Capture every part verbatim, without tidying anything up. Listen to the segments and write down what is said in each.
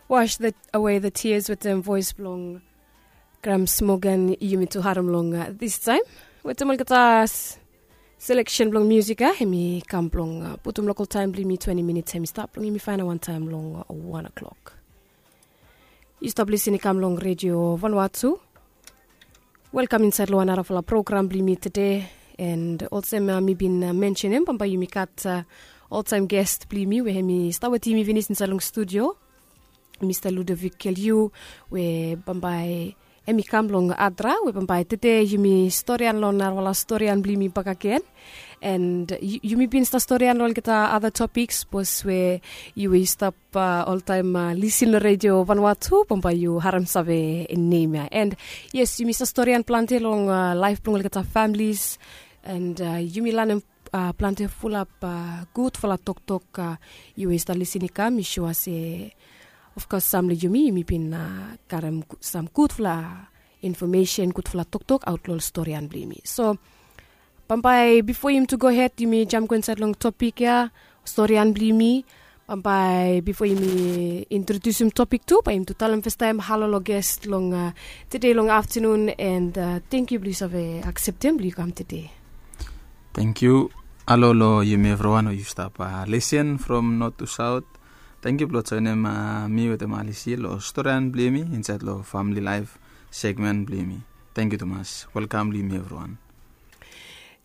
Wash the, away the tears wetem voes blong Grams Morgan. Yumi tu harem long uh, this time wetem olgeta seleksen blong musik ya, hemi kam blong uh, putum lokal taem blong yumi twenti minits, hemi stap blong yumi faenap wan taem long uh, wan o'clock. Yu stap lisin i kam long redio vanua tu. Welkam insaed long wan narafala program blong yumi tede. And olsem uh, mi bin uh, mensenem, bambae yumi gat uh, oltaem gest blong yumi we hemi stap wetem yumi finis insaed long studio, Mista Ludovic Keliu, we bambae hemi kam long Adra, we bambae tede yumi storian long narafala storian blong yumi bakegen. And yumi bin stap storian long olgeta other topics, sapos we yu we yu stap uh, oltaem uh, lisin long redio vanua tu, bambae yu harem save nem ya. And yes, yumi stap storian plante long uh, laef blong olgeta families. And uh, yumi lanem uh, plante fulap uh, gudfala toktok. Uh, yu we yu stap lisin i kam, mi sua se of course sam long yumi, yumi bin uh, karem sam gudfala infomesen, gudfala toktok aot long ol storian blong yumi. So bambae bifo yumi tu gohed yumi jam go insaed long topik ya, storian blong yumi. Bambae bifo yumi introdiusim topik tu, bae yumi tu talem fastaem halo long gest long uh, tede long aftenun. And uh, tengkiu blong yu save akseptem blong yu kam tede. Tengkiu. Halo long yumi evriwan we yu stap uh, lisin from not to south. Tengkiu blong joenem uh, mi wetem Alisi long storian blong yumi insaed long famili laef segmen blong yumi. Tengkiu tumas. Welkam blong yumi evriwan.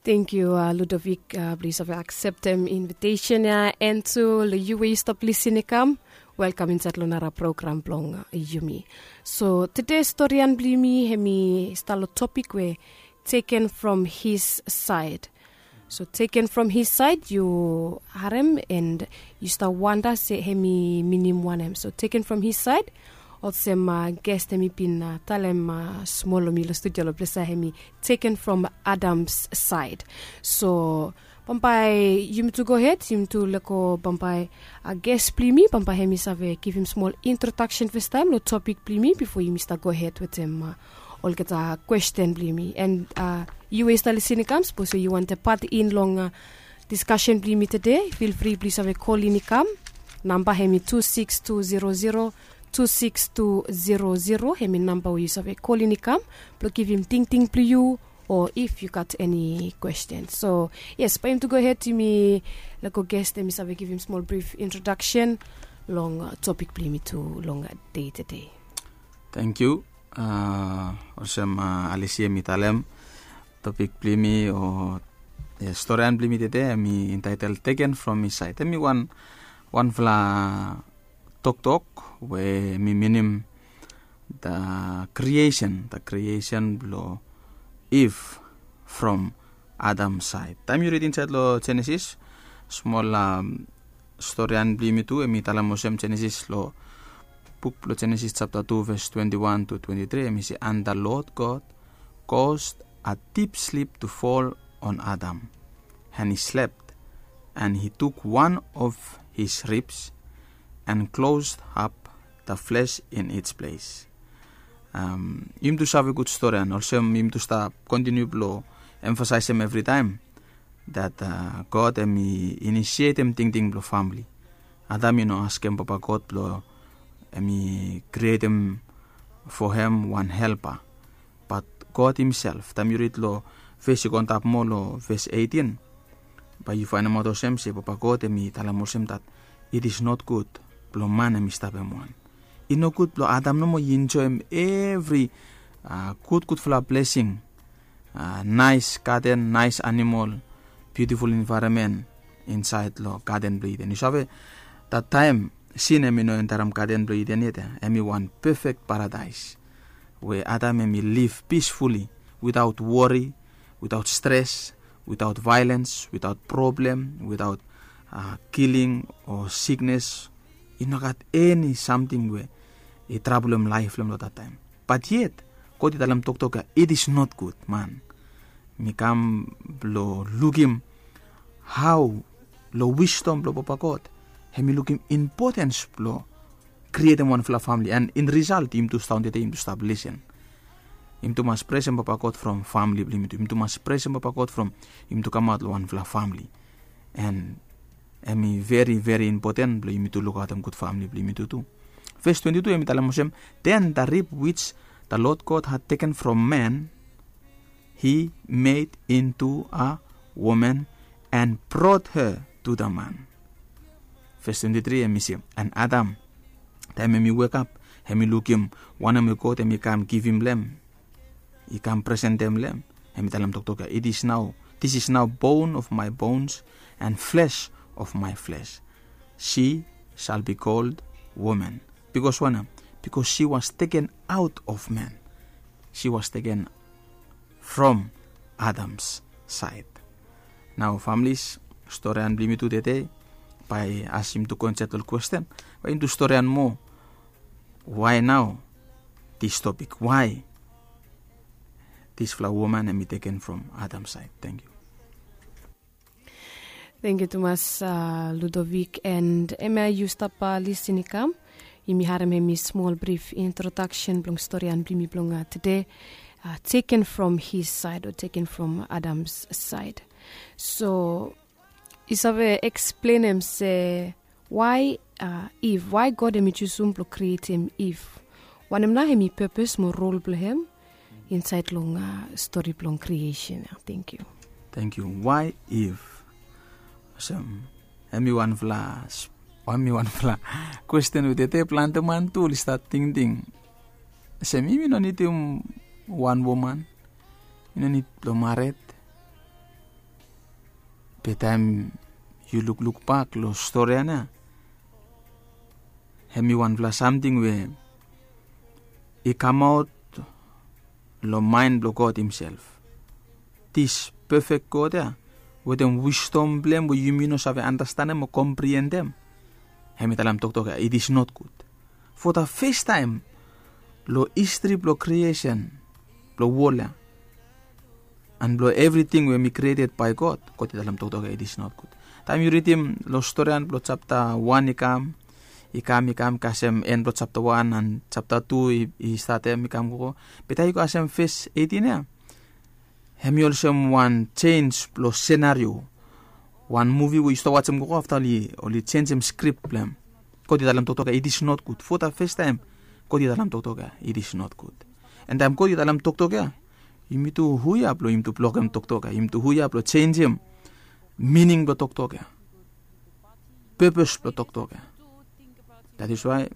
Tengkiu uh, Ludovic uh, blong yu save akseptem invitesen ya. And tu long yu we yu stap lisin i kam, welkam insaed long nara program blong uh, yumi. So tede storian blong yumi hemi stap long topik we taken from his side. So taken from his side, yu harem and yu stap wanda se hemi minim wanem. So taken from his side, olsem uh, gest hemi bin uh, talem uh, smol long mi long studio long ples ya, hemi taken from Adam's side. So bambae yumi tu gohed, yumi tu lego bambae uh, gest blong yumi, bambae hemi save givim smol introdaksen fastaem long topik blong yumi bifo yumi stap gohed wetem uh, olgeta kwesten blong yumi. And uh, yu we yu stap lisin i kam, sapos we yu wantem pat in long uh, diskasen blong yumi tede, fil fri blong yu save kolin i kam. Namba hemi tu sikis tu zero zero, tu sikis tu zero zero, hemi namba we yu save kolin i kam blong givim tingting blong yu, o if yu gat eni kwesten. So yes, bae yumi tu gohed yumi lego gest hemi save givim smol brif introdaksen long uh, topik blong yumi tu long uh, dei tede. Tengkiu. Uh, olsem uh, Alisi hemi talem, topik blong yumi o storian blong yumi tede hemi intaetel Taken from His Side. Hemi wan wanfala toktok we hemi minim the creation, the creation blong Iv from Adam saed. Taem yu rid insaed long Jenesis, smol um, storian blong yumi tu, hemi talem olsem, Jenesis long buk blong Jenesis japta tu ves twenti wan tu twenti tri, hemi se, and the Lord God caused a deep sleep to fall on Adam, and he slept, and he took one of his ribs and closed up the flesh in its place. Um, yumi tu save gud storian, olsem yumi tu stap kontiniu blong emfasaesem evritaem that uh, God hemi inisietem tingting blong famili. Adam i no askem Papa God blong hemi krietem for hem wan helpa. Bat God himself, taem yu rid long ves i go antap moa long ves eitin, bae yu faenemaot olsem se Papa God hemi talem olsem that it is not good blong man hemi stap hem wan. I nogud blong Adam nomo i enjoem evri uh, gudgudfala blesing, uh, naes gaden, naes animol, biutiful envaeronmen insaed long gaden blong Iden. Yu save, that taem sin hemi no entarem gaden blong Iden yet, hemi wan pefek paradaes we Adam hemi liv pisfuli, witaot wori, witaot stres, witaot vaelens, witaot problem, witaot uh, kiling o siknes. I no gat eni samting we i trablem laef blong hem long that taem. Bat yet God i talem toktok ya, it is not good, man. Mi kam blong lukim hao long wisdom blong Papa God hemi lukim impotens blong krietem wanfala famili. And in result, yumi tu stap daon tede, yumi tu stap lisin. Yumi tu mas presem Papa God from famili blong yumi tu. Yumi tu mas presem Papa God from yumi tu kamaot long wanfala famili. And hemi veri veri impoten blong yumi tu lukaotem gud famili blong yumi tu tu. Ves twenti tu hem i talem olsem, then the rib which the Lord God had taken from man, he made into a woman and brought her to the man. Ves twenti tri hem i se, and Adam, taem hem i wekap, hem i lukim wanem we God hem i kam givim long hem, i kam presentem long hem, hem i talem toktok ya, it is now, this is now bone of my bones and flesh of my flesh. She shall be called woman. Because wanem? Because she was taken out of man. She was taken from Adam's side. Nao families, storian blong yumi tu tede, bae as yumi tu go insaed long kwesten, bae yumi tu storian moa. Why nao this topic? Why disfala woman hem i teken from Adam side? Thank you. Thank you tumas, uh, Ludovic, and hemia yu stap, uh, lisin i kam. Yumi harem hemi smol brif introduction blong storian blong yumi blong, uh, tede, uh, taken from his side or taken from Adam's side. So yu save eksplenem se why, uh, Eve, why God hem i jusum blong krietem Eve? Wanem nao hem i purpose mo rol blong hem insaed long, uh, stori blong creation ya? Thank you. Thank you. Why Eve? Olsem, hemi wanfala, hemi wanfala kwesten we tede plante man tu oli stat tingting. Olsem, yumi no nidim wan woman, yumi no nid blong mared. Be taem yu lukluk bak long storian ya, hemi wanfala samting we i kamaot long maen blong God himself. This perfect God ya, wetem wisdom blong hem we yumi no save andastanem o kompriendem, hem i talem toktok ya, it is not good. For the first time long history blong creation blong wol ya, and blong evriting we hem i created by God, God i talem toktok ya, it is not good. Taem yu ridim long storian blong japta wan i kam, i kam, i kam kasem en blong japta wan and japta tu i, i statem i kam gogo. Be taem yu go kasem ves eitin ya, hem i olsem wan jenis blong senario. Wan muvi we yu stap wajem gogo afta oli, oli jenisim skrip blong hem. God i talem toktok ya, it is not good. For the first time God i talem toktok ya, it is not good. And taem God i talem toktok ya, yumi tu hu ya blong yumi tu blokem toktok ya? Yumi tu hu ya blong jenisim mining blong toktok ya, purpose blong toktok ya? That is why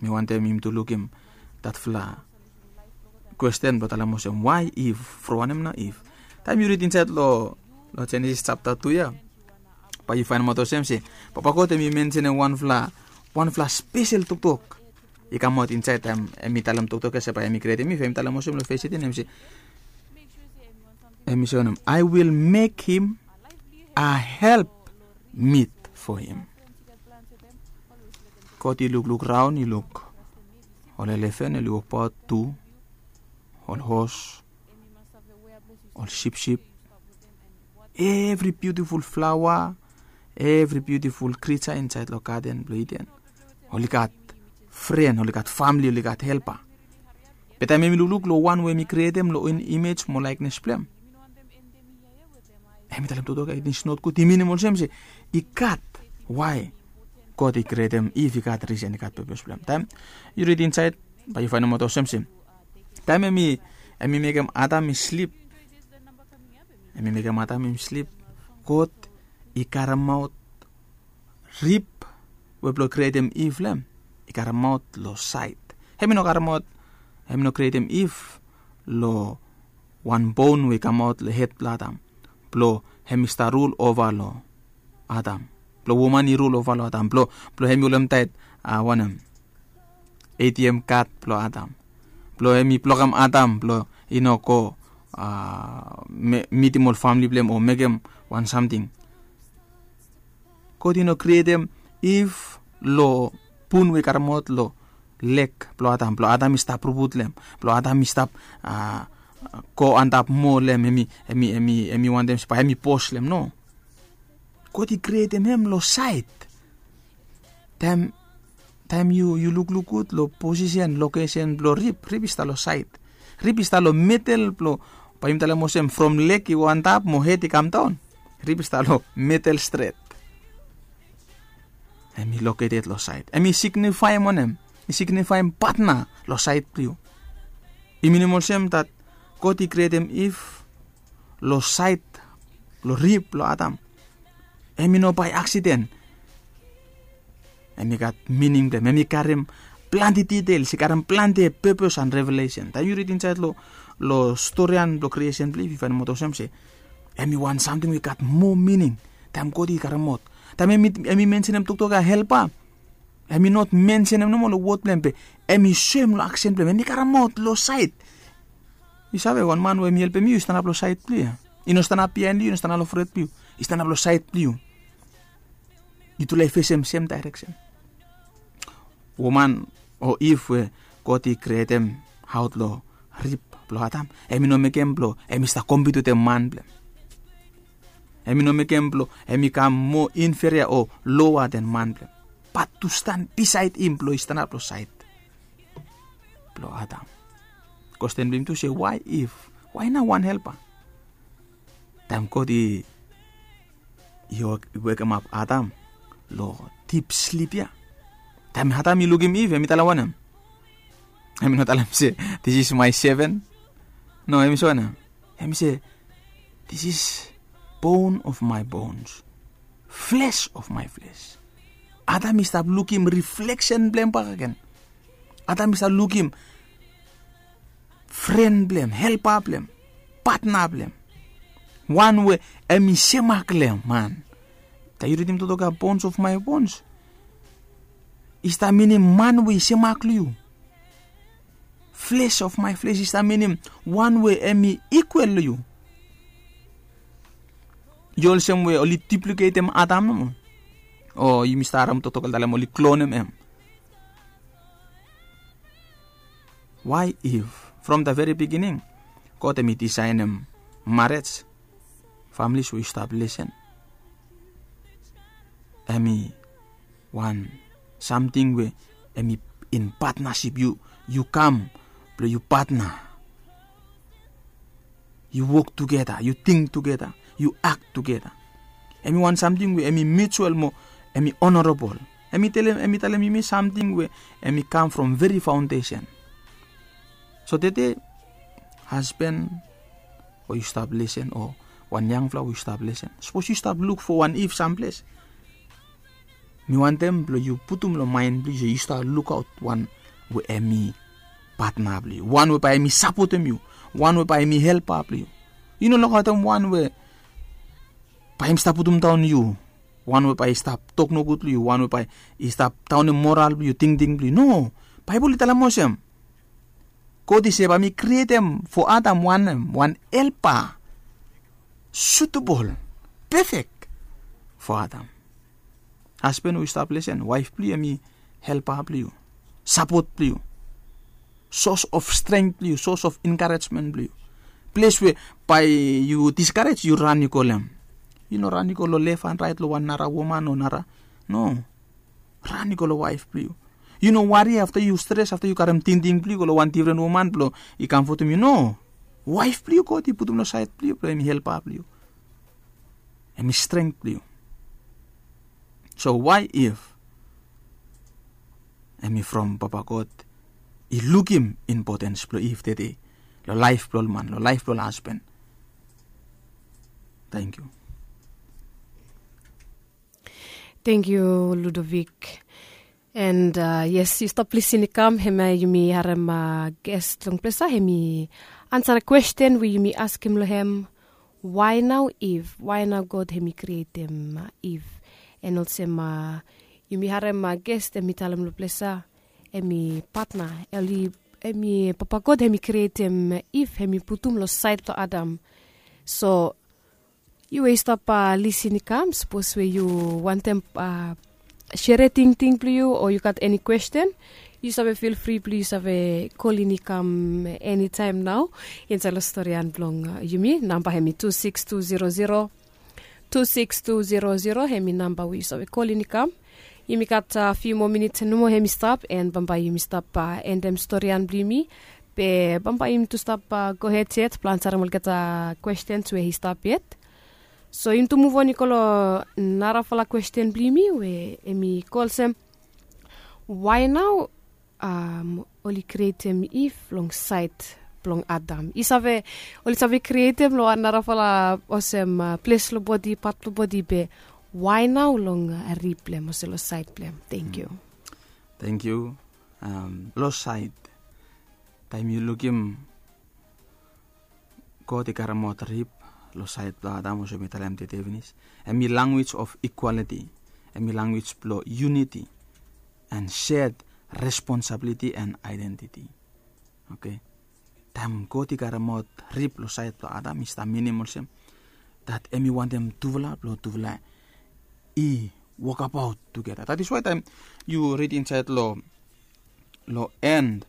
mi wantem yumi tu lukim datfala kwesten blong talem olsem, why Eve? From wanem nao Eve? Taem yu rid insaed long, long Jenesis japta tu ya, bae yu faenemaot olsem se Papa God hem i mensenem wanfala, wanfala spesel toktok i kamaot insaed taem hem i talem toktok ya se bae hem i krietem Eve. Hem i talem olsem long ves eitin, hem i se, hem i se wanem? I will make him a help meet for him. God i lukluk raon, i luk ol elefen oli wokbaot tu, ol hos, ol sipsip, evri biutiful flaoa, evri biutiful krija insaed long gaden blong Iden, oli gat fren, oli gat famle, oli gat helpa. Be taem hem i lukluk long wan we hem i krietem long imej mo laekenes blong hem, hem i talem toktok ya, it is not good. I minim olsem se i gat why God i krietem Iv, i gat risen, i gat pepes blong hem. Taem yu rid insaed, bae yu faenemaot olsem se taem hem i, hem i mekem Adam i slip, hem i mekem Adam i slip, God i karemaot rib we blong krietem Iv long hem, i karemaot long saed. Hem i no karemaot, hem i no krietem Iv long wan bon we i kamaot long hed blong Adam, blong hem i stap rul ova long Adam, blong woman i rul ova long Adam, blong, blong hem i holemtaet, a, wanem, A T M kad blong Adam, blong hem i blokem Adam blong i no go, a, me-, mitim ol famle blong hem o mekem wan samting. God i no krietem Iv long bun we i karemaot long leg blong Adam, blong Adam i stap rubut long hem, blong Adam i stap, a, go antap moa long hem, hem i, hem i, hem i, hem i wantem se bae hem i bos long hem. No. God i krietem hem long saed. Taem, taem yu, yu lukluk gud long posisen, lokesen blong rib, rib i stap long saed. Rib i stap long medel blong, bae yumi talem olsem from leg i go antap mo hed i kamdaon. Rib i stap long medel stret. Hem i located long saed. Hem i signifaem wanem? i signifaem patna long saed blong yu. I minim olsem dat God i krietem Iv long saed blong rib blong Adam. Em i no bae aksiden. Em i gat mining blong em, em i karim plante ditels, i karim plante pepes an revelesen. Taem yu rid insaed long storian blong kriesen blong Iv, yu faenemaot olsem se em i wan samting we i gat moa mining. Taem God i karim aot, taem em i mensenem toktok ya helpa, em i not mensenem nomo long wod blong em, be em i soem long aksen blong em, em i karim aot long saed. Yu save, wan man we em i helpem yu i stanap long saed blong yu ya. I no stanap biaen long yu, i no stanap long fret blong yu, i stanap long saed blong yu. Yutufala i fesem sem daereksen. Woman o Iv we God i krietem aot long rib blong Adam, em i no mekem blong em i stap kompit wetem man blong em. Em i no mekem blong em i kam moa inferia o loa den man blong em, bat tu stan bisaed im blong i stanap long saed blong Adam. Kwesten blong yumi tu se, wae Iv? Wae nao wan helpa? Taem God i i wekemap Adam long dip slip ya, taem Adam i lukim Iv, em i talem wanem? Em i no talem se, this is my seven. No, em i se wanem? Em i se, this is bone of my bones, flesh of my flesh. Adam i stap lukim rifleksen blong em bakegen. Adam i stap lukim fren blong em, helpa blong em, patna blong em, wan we em i semak long em, man. Taem yu ridim toktok ya, bones of my bones, i stap minim man we i semak long yu. Flesh of my flesh i stap minim wan we em i ikwel long yu. I olsem we oli dupliketem Adam nomo. O yumi stap harem toktok oli talem oli klonem em. Wae Iv? From the very beginning, God em i disaenem marej, families we yu stap lesen, em i wan samting we em i in patnasip. Yu kam blong yu patna. Yu wok tugeta, yu ting tugeta, yu ak tugeta. Em i wan samting we em i mutual mo em i onorabol. Em i talem, em i talem yumi samting we em i kam from veri faondesen. So tede, hasben we yu stap lesen o wan yangfala we yu stap lesen, sapos yu stap luk fo wan Iv samples, mi wantem blong yu putum long maen blong yu se yu stap lukaot wan we em i patna blong yu, wan we bae em i sapotem yu, wan we bae em i helpa blong yu. Yu no lukaotem wan we bae em stap putum daon yu, wan we bae i stap tok nogud long yu, wan we bae i stap daonem moral blong yu, tingting blong yu. No. Baebol i talem olsem, God i se bae mi krietem fo Adam wan, wan helpa, sutebol, pefek fo Adam. Hasben we yu stap lesen, waef blong yu em i helpa blong yu, sapot blong yu, sos of strength blong yu, sos of enkarejmen blong yu. Ples we bae yu diskarej, yu ran yu go long em. Yu no ran yu go long lef an raet long wan nara woman o nara. No. Ran yu go long waef blong yu. Yu no wari afta yu stres, afta yu karem tingting blong yu go long wan difren woman blong i kamfotem yu. No. Waef blong yu God i putum long saed blong yu blong em i helpa blong yu, em i strength blong yu. So wae Iv? Em i from Papa God i lukim impotens blong Iv tede long laef blong ol man, long laef blong ol hasben. Tangkiu. Tangkiu, Ludovic. And yes, yu stap lisin i kam, hemia yumi harem ges long ples ya, hem i ansa kwesten we yumi askem long hem, wae nao Iv? Wae nao God hem i krietem Iv? And olsem yumi harem ges hem i talem long ples ya, hem i patna, hem i, Papa God hem i krietem Iv, hem i putum long saed blong Adam. So yu we yu stap lisin i kam, sapos we yu wantem sere tingting blong yu o yu gat eni kwesten, yu save fil fri blong yu save kolin i kam enitaem nao insaed long storian blong yumi. Namba hem i tu sikis tu zero zero, tu sikis tu zero zero, hem i namba we yu save kolin i kam. Yumi gat fiu moa minit nomo hem i stap, and bambae yumi stap endem storian blong yumi. Be bambae yumi tu stap gohed yet blong ansarem olgeta kwestens we i stap yet. So yumi tu muv on i go long narafala kwesten blong yumi we hem i go olsem, wae nao um, oli krietem Iv long saed blong Adam? I save, oli save krietem long wan narafala olsem uh, ples long bodi, pat blong bodi, be why nao long uh, rib blong hem olsem long saed blong hem? Thank you. Thank you. Um, long saed, taem yu lukim God i karemaot rib long saed blong Adam, olsem mi talem tede finis. Hem i language of equality. Hem i language blong unity and shared responsibility and identity. Okay. Taem God i karemaot rib long saed blong Adam, i stap minim olsem dat hem i wantem tufala blong tufala i wokabaot tugeta. That is why taem yu rid insaed long long end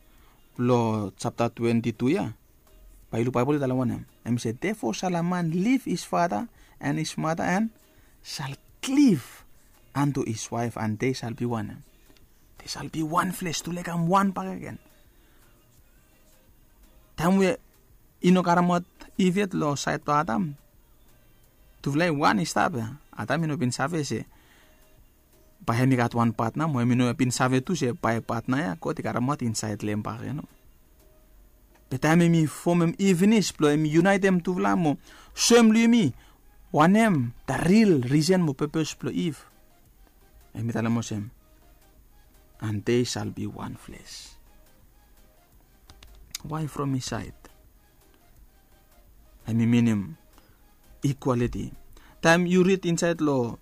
blong chapter twenty-two ya, bae yu luk Baebol i talem wanem. Hem i se, "Therefore shall a man leave his father and his mother and shall cleave unto his wife, and they shall be one." They shall be one flesh, tufala i kam wan bakegen. Taem we i no karemaot Iv yet long saed blong Adam, tufala i wan i stap ya. Adam i no bin save se bae hem i gat wan patna, mo hem i no bin save tu se bae patna ya God i karemaot insaed long hem bakegen. Be taem hem i fomem Iv finis blong hem i yunaetem tufala mo soem long yumi wanem the real reason mo purpose blong Iv, hem i talem olsem, "And they shall be one flesh." Why from his side? Hem i minim equality. Taem yu rid insaed long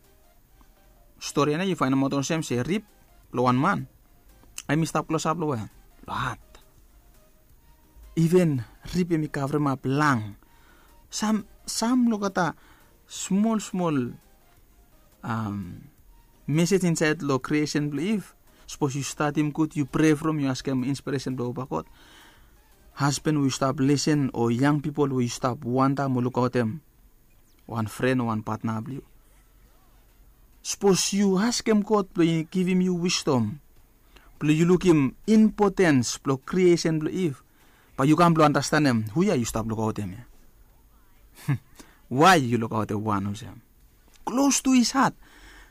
stori ya nao, yu faenemaot olsem se rib blong wan man hem i stap klosap long we, long hat. Iven rib hem i kavremap lang. Sam, sam lukata smol smol um, mesej insaed long creation blong Iv. Sapos yu stadim gud, yu prea from, yu askem inspiresen blong Papa God. Hasban we yu stap lesen o yang pipol we yu stap wanda mo lukaotem wan fren o wan patna blong yu. Sapos yu askem God blong i givim yu wisdom blong yu lukim impotens blong creation blong Iv, bae yu kam blong andastanem hu ya yu stap lukaotem ya. Why yu lukaotem wan olsem? Close to his heart.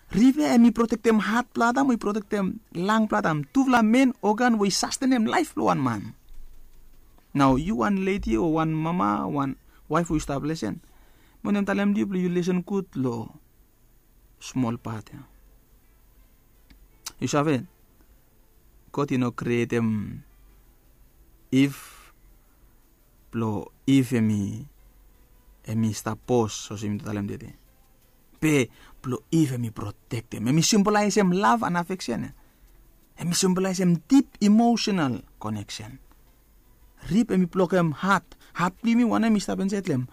Rib ya hem i protektem hat blong Adam, o i protektem lang blong Adam. Tufala men organ we i sastenem laef blong wan man. Nao yu wan ledi o wan mama, wan waef we yu stap lesen, mi wantem talem long yu blong yu lesen gud long smol pat ya. Yu save, God i no krietem Iv blong Iv hem i, hem i stap bos olsem mi talem tede. Be blong Iv hem i protektem. Hem i simbolaesem lav and afeksen ya. Hem i simbolaesem dip emosenal koneksen. Rib hem i blokem hat. Hat blong yumi wanem i stap insaed long hem?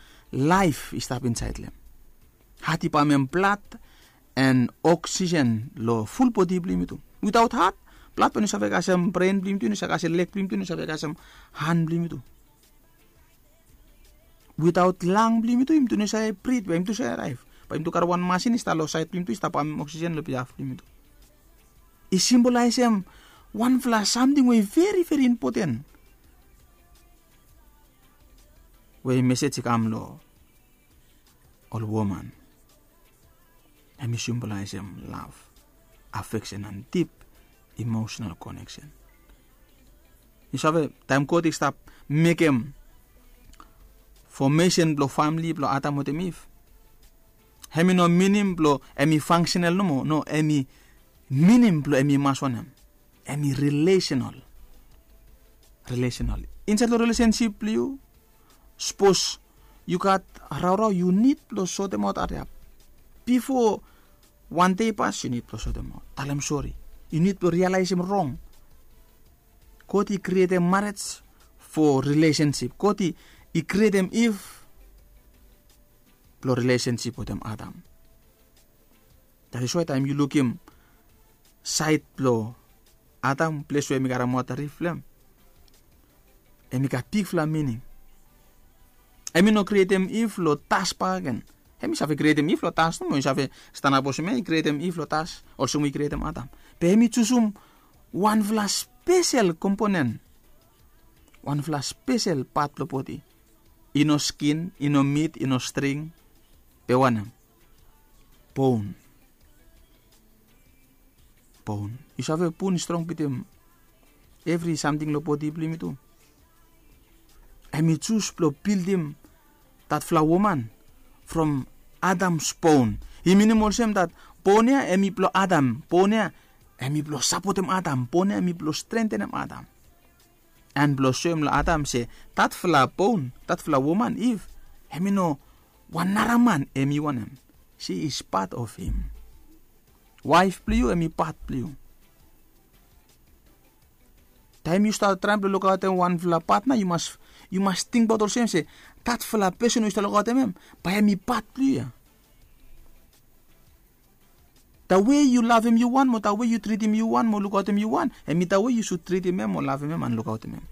Laef i stap insaed long hem. Hat i pamem blad and oksisen long ful bodi blong yumi tu. Witaot hat, blad bae i no save kasem bren blong yumi tu, i no save kasem leg blong yumi tu, i no save kasem han blong yumi tu. Witaot lang blong yumi tu, yumi tu no save brit, bae yumi tu save laef. Bae yumi tu karem wan masin i stap long saed blong yumi tu, i stap pamem oksisen long biaf blong yumi tu. I simbolaesem wanfala samting we i veri veri impoten, we mesej i kam long ol woman. Hem i simbolaesem lav, afeksen and dip emosenal koneksen. Yu save, taem God i stap mekem fomesen blong famle blong Adam wetem Iv, hem i no minim blong hem i fangsenal nomo. No, hem i minim blong hem i mas wanem? Hem i rilesenal. Rilesenal. Insaed long rilesensip blong yu, sapos yu gat raorao, yu nid blong sotemaot hariap. Bifo wan dei i pas, yu nid blong sotemaot, talem sori. Yu nid blong rialaesem rong. God i krietem marej fo rilesensip. God i krietem Iv blong rilesensip wetem Adam. That is why taem yu lukim saed blong Adam, ples we hem i karemaot rib blong hem, hem i gat bigfala mining. Hem i no krietem Iv long das bakegen. Hem i save krietem Iv long das nomo, i save stanap olsem ya, i krietem Iv long das olsem we i krietem Adam. Be hem i jusum wanfala spesel komponen, wanfala spesel pat blong bodi. I no skin, i no mit, i no string. Be wanem? Bon. Bon. Yu save, bon i strong bitim evri samting long bodi blong yumi tu. Hem i jus blong bildim datfala woman from Adam's bone. I minim olsem dat bon ya hem i blong Adam, bon ya hem i blong sapotem Adam, bon ya hem i blong strentenem Adam. An blong soem long Adam se datfala bon, datfala woman Iv, hem i no wan nara man hem i wanem. She is part of him. Waef blong yu hem i pat blong yu. Taem yu stap traem blong lukaotem wanfala patna, yu mas yu mas tingbaot olsem se datfala pesen we yu stap lukaotem hem, bae hem i pat blong yu ya. Tawe yu lavem yu wan mo tawe yu tritim yu wan mo lukaotem yu wan, hem i tawe yu sud tritim hem mo lavem hem an lukaotem hem.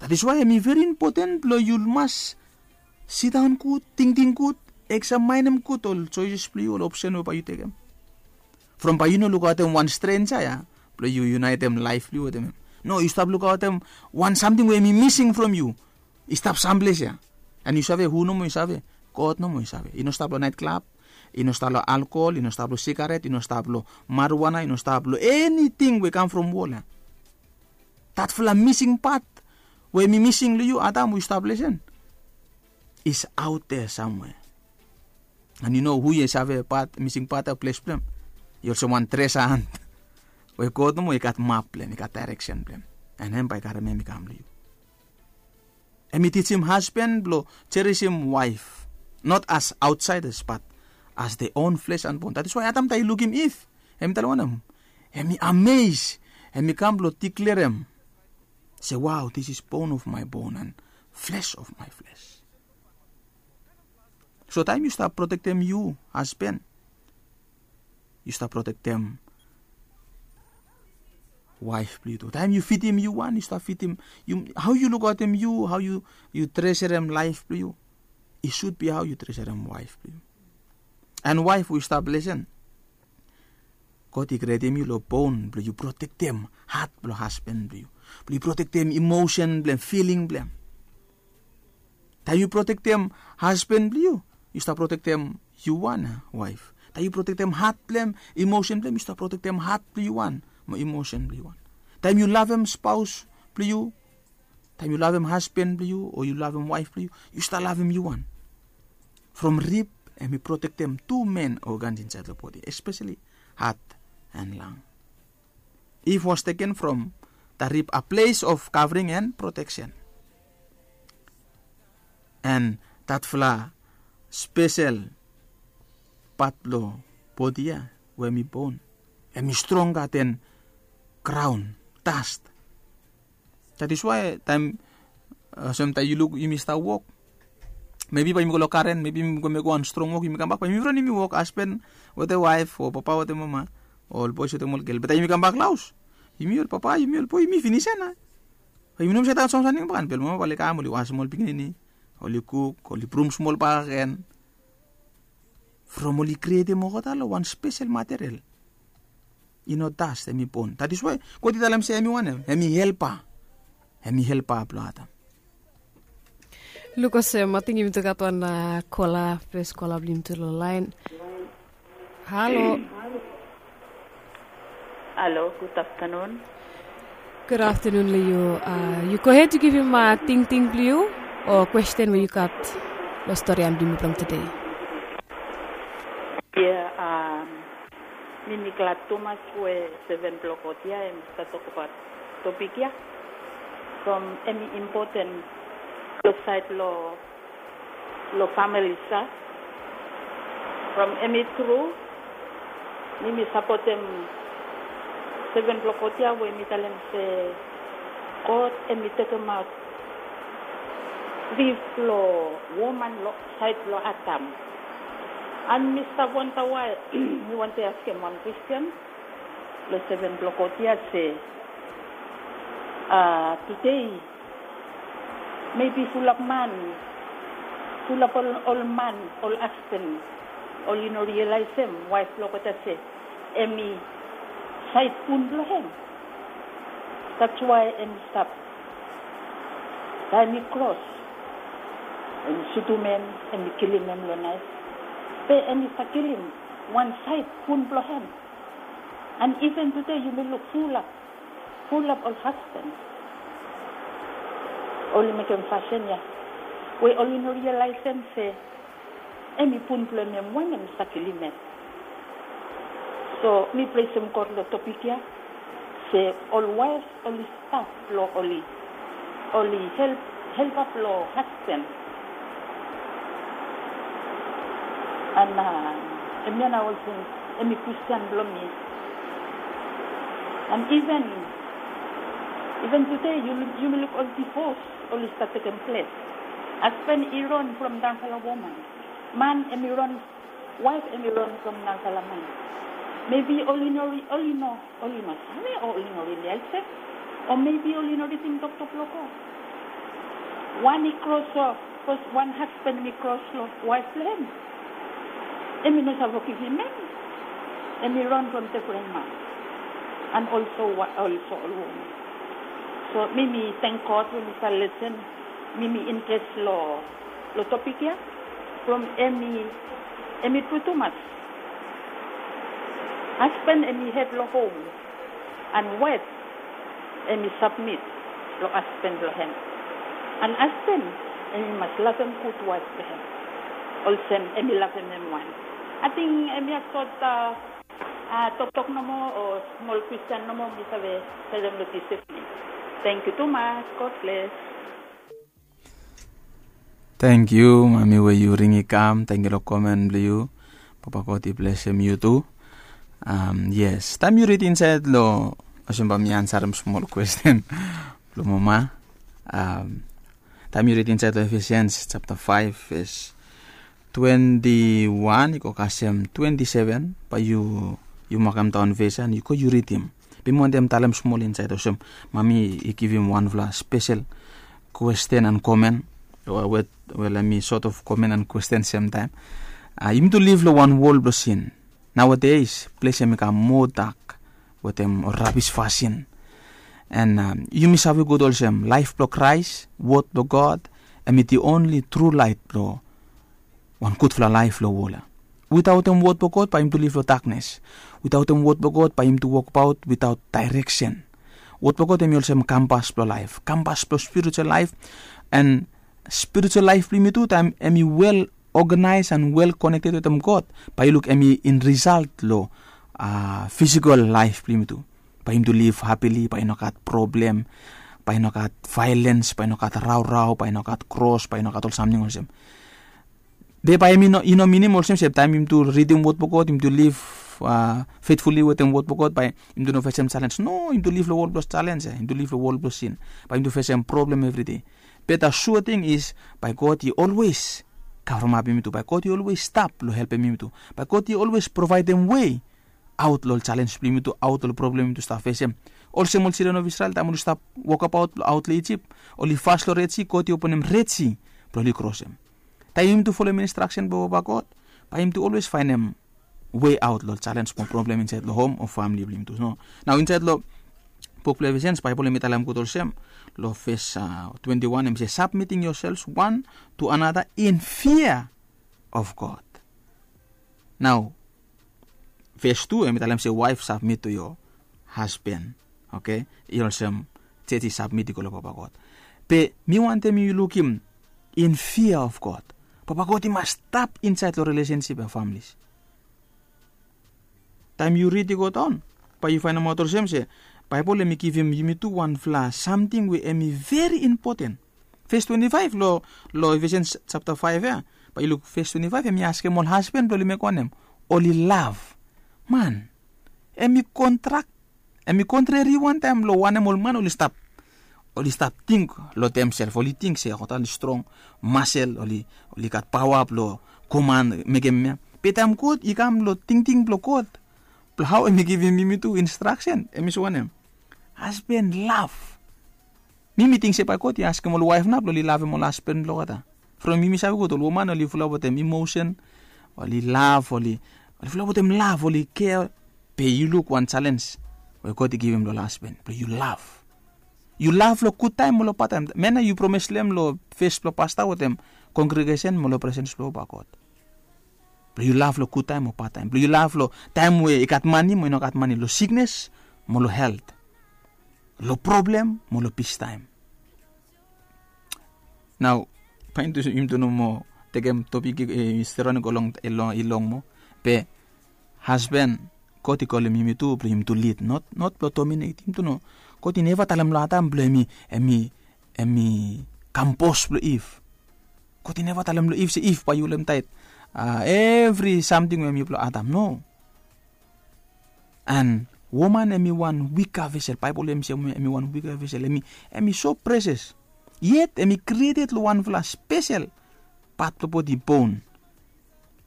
That is why hem i veri impoten blong yu mas sidaon gud, tingting gud, eksamaenem gud ol joeses blong yu, ol opsen we bae yu tekem. From bae yu no lukaotem wan strenja ya blong yu yunaetem laef blong yu wetem hem. No, yu stap lukaotem wan samting we hem i mising from yu. I stap samples ya. An yu save hu nomo i save? God nomo i save. I no stap long naet klab, i no stap long alkohol, i no stap long sigaret, i no stap long marijuana, i no stap long eniting we kam from wol ya. Datfala mising pat we hem i mising long yu, Adam, we yu stap lesen, is aot dea samwea. An yu no hu yu save pat, mising pat ya, ples blong hem i olsem wan tresa ant we God nomo i gat map blong hem, i gat daereksen blong hem. An hem bae i karem hem i kam long yu. Hem i tijim hasban blong jerisim waef, not as aotsaedas bat as their own flesh and bone. That is why Adam taem i lukim Iv, hem i talem wanem? Hem i ames, hem i kam blong diklerem se, wow, this is bone of my bone and flesh of my flesh. So taem yu stap protektem yu hasban, yu stap protektem waef blong yu tu. Taem yu fidim yu wan, yu stap fidim, hao yu lukaotem yu, hao yu treserem laef blong yu, i sud bi hao yu treserem waef blong yu. An waef, we yu stap lesen, God i krietem yu long bon blong yu protektem hat blong hasban blong yu, blong yu protektem emosen blong hem, filing blong hem. Taem yu protektem hasban blong yu, yu stap protektem yu wan, waef. Taem yu protektem hat blong hem, emosen blong hem, yu stap protektem hat blong yu wan mo emosen blong yu wan. Taem yu lavem spaos blong yu, taem yu lavem hasban blong yu o yu lavem waef blong yu, yu stap lavem yu wan. From rib hem i protektem tu men ogans insaed long bodi, espeseli hat an lang. Eve was taken from the rib, a place of covering and protection. An datfala spesel pat blong bodi ya we hem i bon, hem i stronga den graon, das. That is why taem, olsem taem yu luk yumi stap wok, mebi bae yumi go long garen, mebi yumi go mekem wan strong wok, yumi kambak, bae yumi ron yumi wok, hasban wetem waef o papa wetem mama, ol boes wetem ol gel. Be taem yumi kambak long haos, yumi ol papa, yumi ol boe, yumi finis ya nao. Bae yumi no moa save dai wan samting bakegen, be ol mama bae oli kam, oli wasem ol pikinini, oli kuk, oli brum smol bakegen. From oli krietem olgeta long wan spesel material. I no das, hem i bon. That is why God i talem se hem i wanem? Hem i helpa. Hem i helpa blong Adam. Luk olsem, ating yumi tu gat wan kola, fes kola blong yumi tu long laen. Halo. Halo, gud aftanun. Gud aftanun long yu. Yu gohed, yu givim tingting blong yu o kwesten we yu gat long stori blong yumi blong tede. Ya, mi mi glad tumas we seven blong God ya hem i stap tokbaot topik ya. From hem i impoten long saed long long famili sa. From hem i tru, mi mi sapotem seven blong God ya we hem i talem se God hem i tekemaot rib blong woman long saed blong Adam. An mi stap wanda wae, mi wantem askem wan kwesten long seven blong God ya se, a, tede mebi fulap man, fulap ol man, ol hasban, oli no rialaesem waef blong olgeta se hem i saed bun blong hem. That's why hem i stap taem i kros, hem i sutum hem, hem i kilim hem long naef. Be hem i stap kilim wan saed bun blong hem. An iven tede yumi luk fulap Pulap ol hasban oli mekem fasin ya we oli no rialaesem se em i pun blong em wanem sa kilim em. So mi presem God long topik ya se ol waef oli stap long oli oli help helpap long hasban. An em ya na olsem em i Kristian blong mi. An iven iven tude yumi luk ol divos oli stat tekem ples. Hasban i ron from daunfala woman. Man em i ron waef em i ron from daunfala man. Mebi oli no oli no oli no save o oli no rili alsem. O mebi oli no ridim toktok blong God. Wan i kros o bikos wan hasban em i kros long waef blong em. Em i no save givim em. Em i ron from defren man an olso olso ol woman. So mi mi teng God we mi save lesen. Mi mi interes long long topik ya from em i em i tru tumas. Hasban em i hed long hom an waef em i sabmit long hasban blong hem. An hasban em i mas lavem gud waef blong hem olsem em i lavem hem wan. Ating em ya sot toktok nomo o smol kwestin nomo mi save selem long dis evning. Tengkiu tumas. God bless. Tengkiu mami we yu ring i kam tengkiu long komen blong yu. Papa God i blesem yu tu. Yes taem yu rid insaed long olsem bae mi ansarem smol kwesten blong mama. Taem yu rid insaed long efesians sapta faef ves twenti wan i go kasem twenti seven bae yu yu makem daon ves ya an yu go yu ridim. Be mi wantem talem smol insaed olsem mami i givim wanfala spesel kwesten an komen we we lem i sot of komen an kwesten semtaem. Yumi tu liv long wan wol blong sin. Naoades ples ya mi kam moa dak wetem ol rabis fasin. An yumi save gud olsem laef blong kraes wod blong god em i di onli tru laet blong wan gudfala laef long wol ya. Witaotem wod blong god bae yumi tu liv long daknes. Witaotem wod blong god bae yumi tu wokbaot witaot daereksen. Wod blong god em i olsem kampas blong laef kampas blong spiritual laef. An spiritual laef blong yumi tu taem em i wel oganaes an wel konekted wetem god bae yu luk em i in risalt long fisikal laef blong yumi tu. Bae yumi tu liv hapili bae i no gat problem, bae i no gat vaelens, bae i no gat raorao, bae i no gat kros, bae i no gat ol samting olsem. Be bae em i no minim olsem se taem yumi tu ridim wod blong god yumi tu liv fetfuli wetem wod blong god bae yumi tu no fesem salens no yumi tu liv long wol blong salens ya yumi tu liv long wol blong sin. Bae yumi tu fesem problem evridei. Be da sua ting is bae god i olwes kavremapim yumi tu bae god i olwes stap long helpem yumi tu. Bae god i olwes provaedem wei aot long ol salens blong yumi tu aot long ol problem yumi tu stap fesem. Olsem ol sildren of isrel taem oli stap wokabaot long aot long ijip oli fas long redsi god i openem redsi blong oli krosem. Taem yumi tu folem instraksen blong papa god bae yumi tu olwes faenem wei aot long ol salens mo problem insaed long hom o famili blong yumi tu. Nao insaed long buk blong efesians baebol em i talem gud olsem long fes twenti wan em i se sabmiting yosels wan tu anata in fia of god. Nao fes tu em i talem se waef sabmit tu yo hasban. Oke i olsem jej i sabmit i go long papa god. Be mi wantem yu lukim in fia of god. Papa god i mas stap insaed long relesensip ya familis. Taem yu rid i go daon bae yu faenemaot olsem se baebol em i givim yumi tu wanfala samting we em i veri impoten. Fes twenti faef long long efesians sapta faef ya bae yu luk fes twenti faef em i askem ol hasban blong oli mekem wanem? Oli lav. Man em i kontrak em i kontreri wantaem long wanem ol man oli stap oli stap ting long demsel oli ting se olgeta oli strong masel oli oli gat paoa blong koman mekem ya. Be taem god i kam long tingting blong god blong hao em i givim yumi tu instraksen em i se wanem? Hasban lav. Mi mi ting se bae god i askem ol waef nao blong oli lavem ol hasban blong olgeta. From yumi save gud ol woman oli fulap wetem imosen oli lav oli oli fulap wetem lav oli kea. Be yu luk wan salens we god i givim long ol hasban blong yu lav. Yu lav long gudtaem o long badtaem man ya yu promes long em long fes blong pasta wetem kongregesen mo long presens blong papa god. Blong yu lav long gudtaem o badtaem blong yu lav long taem we i gat mani mo i no gat mani long siknes mo long helt. lo problem mo lo pistaem. Nao, paen tu yumi tu no moa tekem topik i stere wan i go long i long moa. Be hasben, God i kolem yumi tu blong yumi tu lid, not blong dominate. Yumi tu no, God i neva talem long Adam blong em i em i kam bos blong Iv. God i neva talem long Iv se, Iv, bae yu holem taet evri samting we em i blong Adam, no. And woman em i wan wika vesel. Baebol em i se em i wan wika vesel. Em i so precious. Yet em i krieted long wanfala spesel pat blong bodi, bon.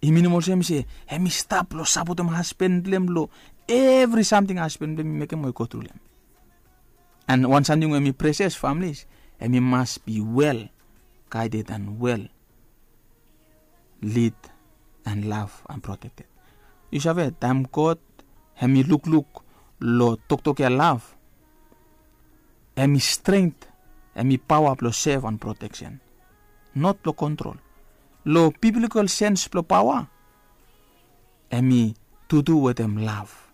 I minim olsem se em i stap long sapotem hasben blong em long evri samting hasben blong em i mekem we God i rulem. And wan samting we em i precious, families, em i mas be well guided and well lead and love and protected. Yu save, taem God em i lukluk long toktok ya, love, em i strength, em i paoa blong save and protection, not blong kontrol. Long biblical sense blong paoa, em i tutu wetem love.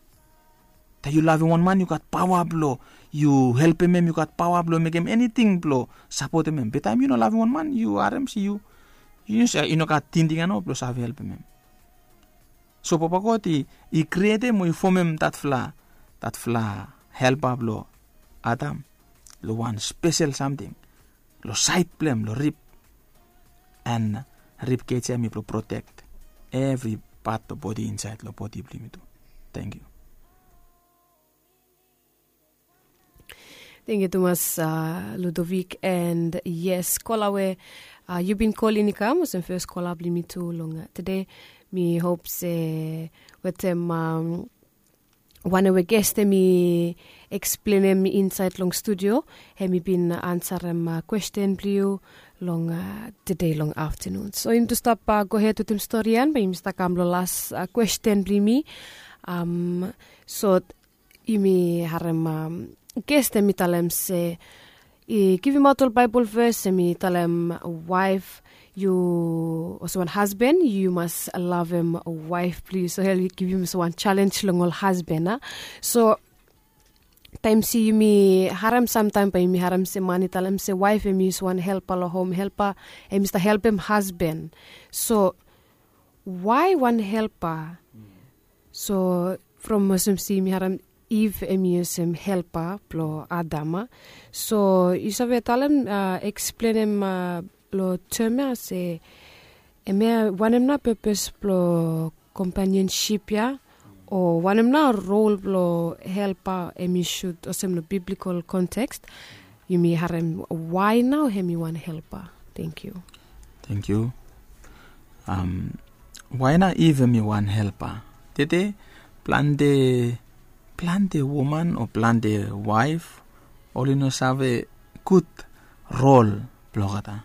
Taem yu lavem wan man, yu gat paoa blong yu helpem em, yu gat paoa blong mekem eniting blong sapotem em. Be taem yu no lavem wan man, yu harem se yu, yu no sa- yu no gat tingting ya nao blong save helpem em. So Papa God i, i krietem o i fomem datfala, datfala helpa blong Adam long wan spesel samting long saed blong em, long rib. And rib kej ya em i blong protek evri pat blong bodi insaed long bodi blong yumi tu. Tangkiu. Tangkiu tumas, Ludovic. And yes, kola we yu bin kolin i kam olsem fes kola blong yumi tu long tede. Mi hop se wetem wanem we ges em i eksplenem insaed long studio, em i bin ansarem kwesten blong yu long tede long aftenun. So yumi tu stap gohed wetem stori ya, bae yumi stap kam long las kwesten blong yumi. So yumi harem ges em i talem se, i givimaot ol Baebol ves em i talem waef, yu, olsem wan hasben, yu mas lavem waef blong yu. So hel i givim olsem wan jalenj long ol hasben, a. So taem se yumi harem, samtaem bae yumi harem se man i talem se waef em i olsem wan helpa long hom, helpa, em i stap helpem hasben. So wae wan helpa? So from olsem se yumi harem Iv em i olsem helpa blong Adam, a. So yu save talem, eksplenem long tem ya se, hemia wanem nao pepes blong kompanionsip ya, o wanem nao rol blong helpa em i sud olsem long biblikol konteks? Yumi harem wae nao em i wan helpa. Tangkiu. Tangkiu. Wae nao Iv em i wan helpa? Tede plante, plante woman o plante waef oli no save gud rol blong olgeta.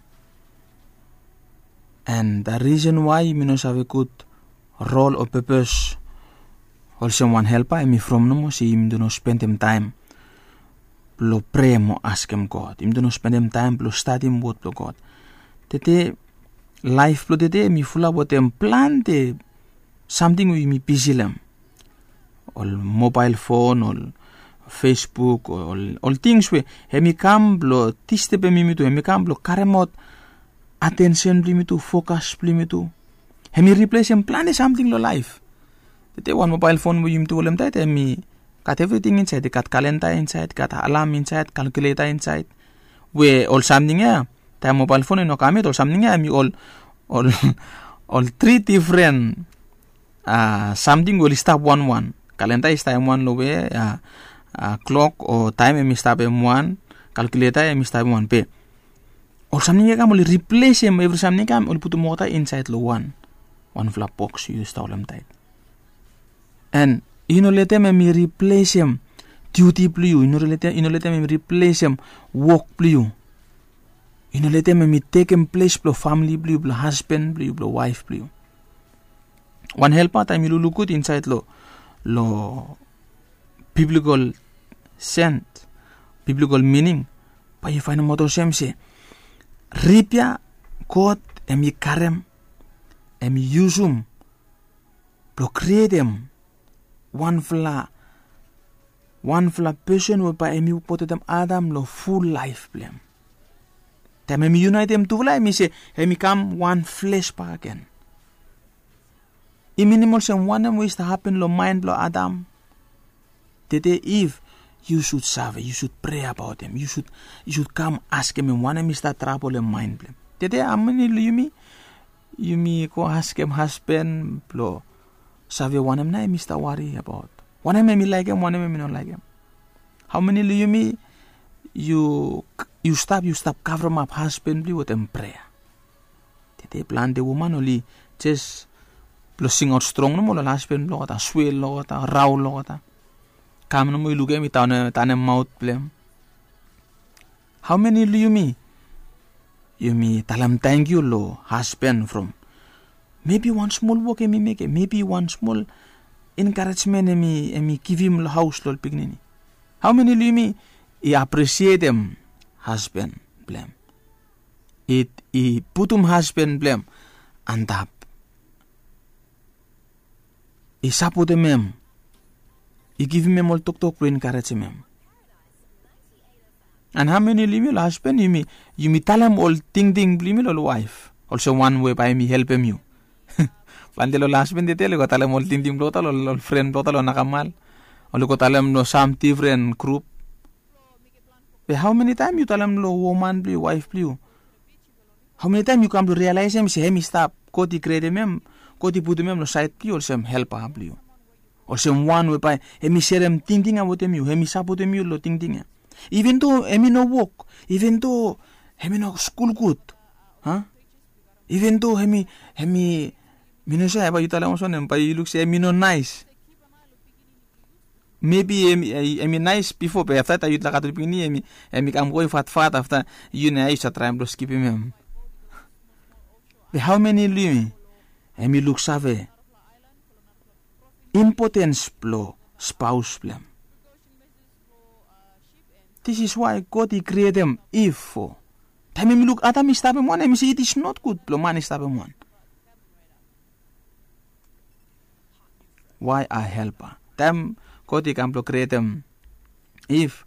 And the reason why yumi no save gud rol o pepes olsem wan helpa, em i from nomo se yumi tu no spendem taem blong prea mo askem God. Yumi tu no spendem taem blong stadim wod blong God. Tede, laef blong tede em i fulap wetem plante samting we yumi bisi long hem. Ol mobael fon, ol Facebook, ol, ol tings we em i kam blong distebem yumi tu, em i kam blong karemaot atensen blong yumi tu, fokas blong yumi tu. Em i riplesem plante samting long laef. Tede wan mobael fon we yumi tu holem taet, em i gat evriting insaed. I gat kalenda insaed, i gat alam insaed, kalkuleta insaed. We ol samting ya, taem mobael fon i no kam yet, ol samting ya em i ol, ol, ol tri difren samting we oli stap wanwan. Kalenda i stap hem wan long we, klok o taem em i stap hem wan, kalkuleta em i stap hem wan. Be ol samting ya i kam oli riplesem evri samting ya i kam, oli putum olgeta insaed long wan, wanfala boks yu stap holem taet. And yu no letem em i riplesem diuti blong yu. Yu no letem, yu no letem em i riplesem wok blong yu. Yu no letem em i tekem ples blong famle blong yu, blong hasben blong yu, blong waef blong yu. Wan helpa, taem yu lukluk gud insaed long, long biblikol sens, biblikol mining, bae yu faenemaot olsem se rib ya God em i karem, em i yusum blong krietem wanfala Wanfala pesen we bae hemi wokbaot wetem Adam long ful laef blong hem. Taem hemi yunaetem tufala, hemi se hemi kam wan fles bakegen. I minim olsem wanem we i stap hapen long maen blong Adam. Tede, Iv, yu sud save, yu sud prea abaot hem, yu sud yu sud kam askem hem wanem i stap trabolem maen blong hem. Tede, hao meni long yumi, yumi go askem hasben blong save wanem nao hemi stap wari abaot, wanem hemi laekem, wanem hemi no laekem? Hao meni long yumi, yu yu stap yu stap kavremap hasben blong yu wetem prea? Tede plante woman oli jes blong singaot strong nomo long ol hasben blong olgeta, swel long olgeta, raol long olgeta. Kam nomo i lukem i tanem maot blong hem. Hao meni long yumi, yumi talem tangkiu long hasben from mebi wan smol wok hemi mekem, mebi wan smol enkarejmen hemi hemi givim long haos long ol pikinini? Hao meni long yumi i apresietem hasben blong hem, i i putum hasben blong hem antap, i sapotem hem, i givim hem ol toktok blong enkarejem hem? And hao meni long yumi long hasben, yumi yumi talem ol tingting blong yumi long ol waef olsem wan we bae hemi helpem yu? Plante long ol hasben tede oli go talem ol tingting blong olgeta long ol fren blong olgeta long nakamal, oli go talem long sam difren grup. Be hao meni taem yu talem long woman blong yu, waef blong yu, hao meni taem yu kam blong rialaesem se hem i stap, God i krietem hem, God i putum hem long saed blong yu olsem helpa blong yu, olsem wan we bae hemi serem tingting ya wetem yu, hemi sapotem yu long tingting ya, iven do hemi no wok, iven do hemi no skul gud, a? Iven do hemi hemi mi no sua bae yu talem olsem wanem, bae yu luk se hemi no naes. Mebi hemi hemi naes bifo, be afta taem yu laek gat ol pikinini, hemi hemi kam go i fatfat, afta yu nao yu save traem blong skipim hem. Be hao meni long yumi hemi luksave impotens blong spaos blong hem? This is why God i krietem Iv fo. Taem hemi luk Adam i stapem wan, hemi se it is not good blong man i stapem wan. Why a helpa? Taem God i kam blong krietem Iv,